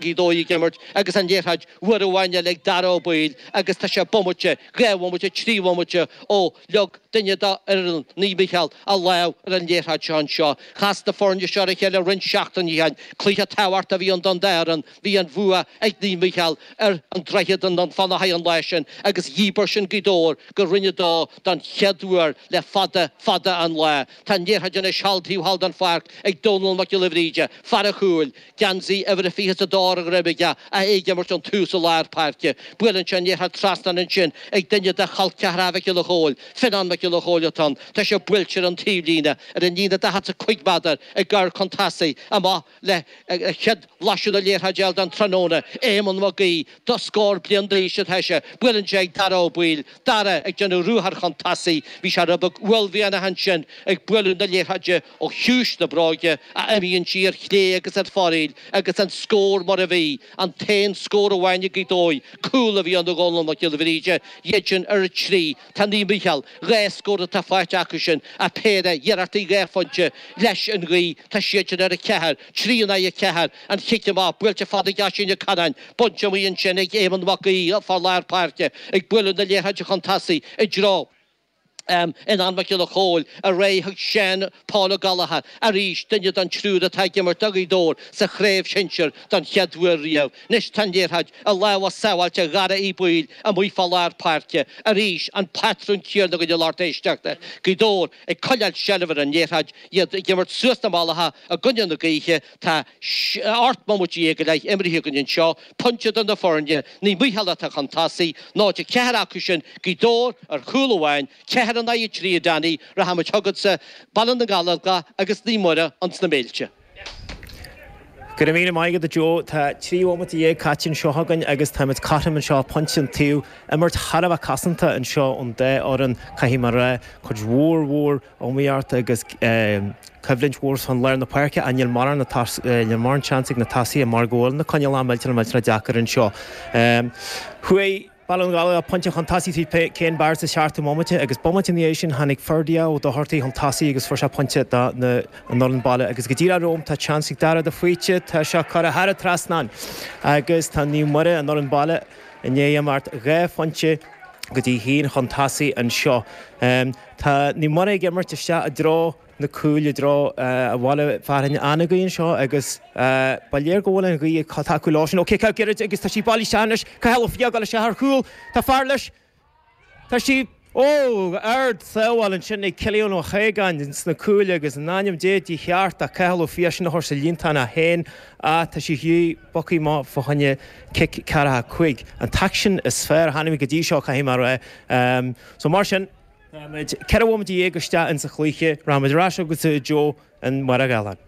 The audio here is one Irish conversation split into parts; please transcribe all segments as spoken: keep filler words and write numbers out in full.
Gaoth Dobhair ag imirt agus an liathróid uair amháin eile ag Dara Ó Baoill agus tá sé bomaite, dhá bhomaite, trí bhomaite ó leag duine d'fhoireann Naomh Mícheál a lámh ar an liathróid seo anseo. Chas na foirne seo ar a chéile roinnt seachtainí ó shin. Cluiche tábhachtach a bhí ann don dá fhoireann. Bhí an bhua ag Naomh Mícheál ar an Droichead i nDún Fionnachaidh an lá sin agus dhíbir sin Gaoth Dobhair go Roinn a Dó don chéad uair le fada, fada an lá. Tá an liathróid anois thall taobh thall den pháirc ag Dónal Mac Giolla Bhríde, fear an chúil, geansaí uimhir a fiche is a dó ar a dhroim aige, é ag imirt ón tús i lár páirce. Buaileann sé an liathróid trasna ansin ag duine de chol ceathracha Mhic Giolla Chóill, Fionnán Mac Giolla Chóill atá ann. Tá sé buailte ar an taobhlíne, ar an líne daichead is a cúig méadar, ag gabháil chun tosaigh, amach le chéad bhlaiseadh na liathróide a fháil don tráthnóna, Éamonn Mac Aoidh, do scór bliain d'aois atá sé. Buaileann sé ag Dara Ó Baoill, Dara ag déanamh ruathar chun tosaigh. Bhí sé rud beag uaillmhianach ansin ag bualadh na liathróide ó chiumhais na bróige a imíonn sí ar chlé agus ar foraíl agus an scór mar a bhí, an t-aon scór amháin ag Gaoth Dobhair, cúl a bhí ann ó Dhónal Mac Giolla Bhríde, iad sin ar a trí, tá Naomh Mícheál, dhá scór atá faighte acu sin ach péire iarrachtaí dhá phointe leis an ghaoth, tá siad sin ar a ceathair, trí in aghaidh a ceathair, an chic amach buailte fada ag Oisín Ó Canáin, bainte amuigh ansin ag Éamonn Mac Aoidh, fear lár páirce, ag bualadh na liathróide chun tosaigh i dtreo. Fhionnán Mac Giolla Chóill ar aghaidh chuig Seán Paul Ó Gallchóir, arís duine den triúr atá ag imirt do Ghaoth Dobhair sa chraobh shinsir don chéad uair riamh. Anois tá an liathróid i lámha sábháilte Dhara Uí Baoill amuigh fá lár páirce. Arís an patrún céanna againn a lucht éisteachta. Gaoth Dobhair ag coinneáil seilbh ar an liathróid, iad ag imirt suas na mbealacha i gcoinne na gaoithe. Tá ocht mbomaite déag go leith imrithe againn anseo, pointe do na foirne, Naomh Mícheál atá chun tosaigh, náid a ceathair acu sin, Gaoth Dobhair ar chúl amháin, ceathair in aghaidh a trí, a Danny, rachaimid chugatsa, Baile na nGallóglach agus Naomh Muire ins na Méilte. Go raibh míle maith agat a Joe. Tá trí bhomaite dhéag caite anseo againn agus táimid cothrom anseo, pointe an taobh. Imirt thar a bheith cosanta anseo ón dá fhoireann, caithfidh mé a rá. Cuid mhór mhór iomaíochta agus coimhlint mhór chun lár na páirce ach níl mórán níl mórán seans ag na tosaithe mar go bhfuil na coinníollacha millteanach millteanach deacair anseo. Chuaigh Baile na nGallóglach pointe chun tosaigh trí Cian Barrett sa seachtú bomaite agus bomaite ina dhiaidh sin tháinig Ferdia Ó Dochartaigh chun tosaigh agus fuair sé pointe do na an fhoireann baile agus go díreach romham tá seans ag Dara de Faoite, tá sé curtha thar an trasnán agus tá Naomh Muire an fhoireann baile i ndiaidh imeacht dhá phointe go dtí haon chun tosaigh anseo. Tá Naomh Muire ag imirt isteach i dtreo na cúil i dtreo an bhaile fearainn an-ghaoth anseo agus ba léir go bhfuil an ghaoth ag tacú leo sin. Ó cic gairid agus tá sí bailithe isteach anois. Cathal Ó Fiaich ag dul isteach ar chúl. Tá fear leis. Tá sí Ó! Ard sábháil ansin ag Cillian Ó hAogáin sna cúil agus in ainm Dé dí cheart ach Cathal Ó Fiaich sin a chur sa líontán é féin ach tá sí thiar bogtha amach fá choinne cic ceathracha cúig. An t-aicsean is fearr a chonaic mé go dtí seo caithfidh mé a rá. So mar sin. Táimid ceithre bhomaite dhéag isteach insa chluiche. Rachaimid ar ais chugatsa a Joe in Machaire Gathlán.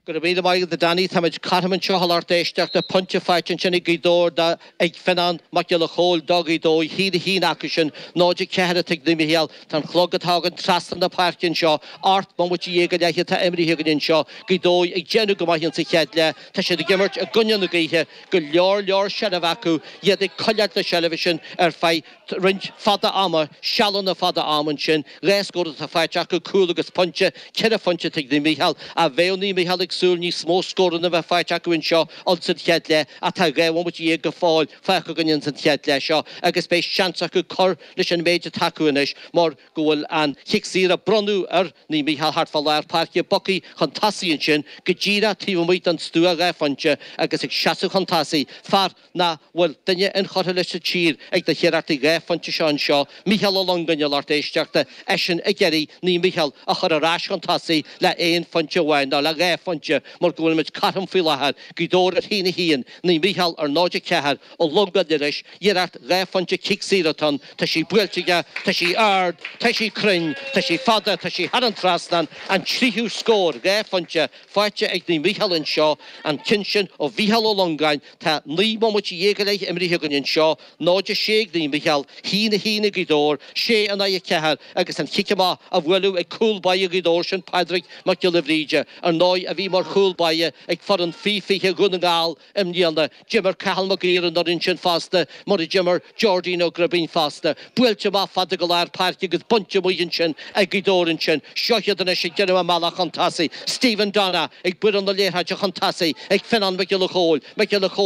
Go raibh míle maith agat a Danny. Táimid cothrom anseo a lucht éisteachta. Pointe faighte ansin ag Gaoth Dobhair do ag Fionnán Mac Giolla Chóill do Ghaoth Dobhair. Haon a haon acu sin. Náid a ceathair atá ag Naomh Mícheál. Tá an clog atá againn trasna na páirce anseo. Ocht mbomaite dhéag go leith atá imrithe againn anseo. Gaoth Dobhair ag déanamh go maith insa chéad leath. Tá siad ag imirt i gcoinne na gaoithe. Go leor leor seilbh acu. Iad ag coinneáil na seilbhe sin ar feadh roinnt fada ama, sealanna fada ama ansin, dhá scór atá faighte acu, cúl agus pointe, ceithre phointe atá ag Naomh Mícheál. Ach bheadh Naomh Mícheál ag súil níos mó scóranna a bheith faighte acu anseo ins an chéad leath ach tá dhá bhomaite dhéag go fóill fágtha againn ins an chéad leath seo agus beidh seans acu cur leis an méid atá acu anois mar go bhfuil an chic saor a bronnadh ar Naomh Mícheál thart fá lár páirce bogtha chun tosaigh ansin go díreach taobh amuigh den stua dhá phointe agus ag seasamh chun tosaigh fear nach bhfuil duine inchurtha leis sa tír ag na hiarrachtaí dhá phointe seo anseo, Mícheál Ó Longáin a lucht éisteachta, eisean ag iarraidh Naomh Mícheál a chur ar ais chun tosaigh le aon phointe amháin, nó le dhá phointe, mar go bhfuilimid cothrom faoi láthair, Gaoth Dobhair ar haon a haon, Naomh Mícheál ar náid a ceathair, Ó Longáin anois, iarracht dhá phointe cic saor atá ann, tá sí buailte aige, tá sí ard, tá sí cruinn, tá sí fada, tá sí thar an trasnán, an tríú scór dhá phointe faighte ag Naomh Mícheál anseo, an ceann sin ó Mhícheál Ó Longáin, Tá naoi mbomaite dhéag go leith imrithe againn anseo, náid a sé ag Naomh Mícheál, haon a haon ag Gaoth Dobhair, sé in aghaidh a ceathair agus an chic amach á bhualadh ag cúl báire Ghaoth Dobhair, sin Pádraig Mac Giolla Bhríde, ar ndóigh, a bhí mar mar chúl báire ag foireann faoi fiche Dhún na nGall i mbliana. D'imir Cathal Mac Uidhir an fhoireann sin fosta, mar a d'imir Geordie Ó Gribín fosta. Buailte amach fada go lár páirce agus bainte amuigh ansin ag Gaoth Dobhair ansin. Seo iad anois ag déanamh a mbealach chun tosaigh. Stephen Donagh ag bualadh na liathróide chun tosaigh ag Fionnán Mac Giolla Chóill. Mac Giolla Chóill.